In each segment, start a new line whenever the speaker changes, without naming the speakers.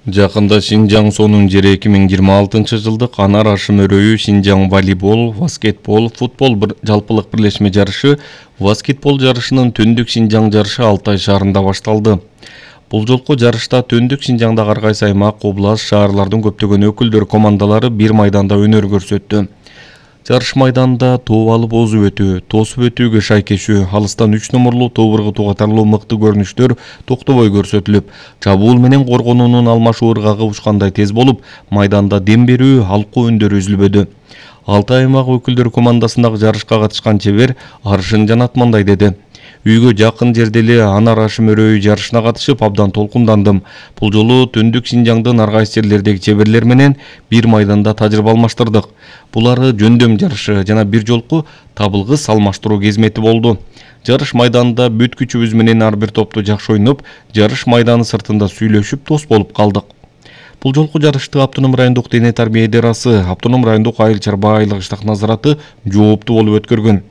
Жакында Шинжаң сонун жери 2026-жылдык Анар Ашым өрөөү Шинжаң волейбол, баскетбол, футбол жалпылык бирлешме жарышы баскетбол жарышынын Түндүк Шинжаң жарышы Алтай шаарында башталды. Бул жолку жарышта Түндүк Шинжаңдагы ар кайсы аймак, област, шаарлардын көптөгөн өкүлдөр командалары бир майданда өнөр көрсөттү. Жарыш майданында тоо алып озуп өтүү, тосуп өтүүгө шайкешүү, алыстан 3 номерлуу тоо ыргытуу катарлуу мыкты көрүнүштөр токтобой көрсөтүлүп, чабуул менен коргонуунун алмашуу ыргагы учкандай тез болуп, майданда дем берүү, алкуу үндөр үзүлбөдү. Алтай аймак өкүлдөр командасындагы жарышка катышкан чебер Аршын Жанат мындай деди: Үйгө жакын жерде эле Анар Ашым өрөөү жарышына катышып абдан толкундандым. Бул жолу Түндүк Шинжаңдын ар кайсы жерлердеги чеберлер менен бир майданда тажрыйба алмаштырдык. Булары жөндөм жарышы жана бир жолку табылгыс алмаштыруу кезмети болду. Жарыш майданында бүт күчүбүз менен ар бир топту жакшы ойноп, жарыш майданы сыртында сүйлөшүп дос болуп калдык. Бул жолку жарышты Автоном райондук дене тарбия идарасы, Автоном райондук айыл чарба айылык иштак назараты жооптуу болуп өткөргөн.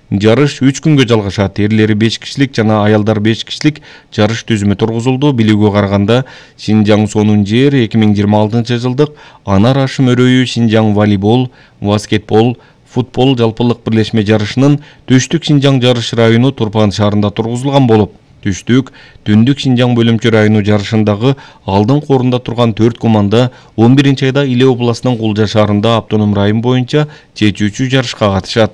Жарыш 3 күнгө жалгашат. Эрлери 5 кишилик жана аялдар 5 кишилик жарыш түзүмү тургузулду. Билүүгө караганда Шинжаң сонун жер 2026-жылдык Анар Ашым өрөөү Шинжаң волейбол, баскетбол, футбол жалпылык бирлешме жарышынын Түштүк Шинжаң жарыш району Турпан шаарында тургузулган болуп, Түштүк, Түндүк Шинжаң бөлүмчө району жарышындагы алдыңкы орунда турган 4 команда 11-айда Иле областынын Кулжа шаарында автоном район боюнча чечүүчү жарышка катышат.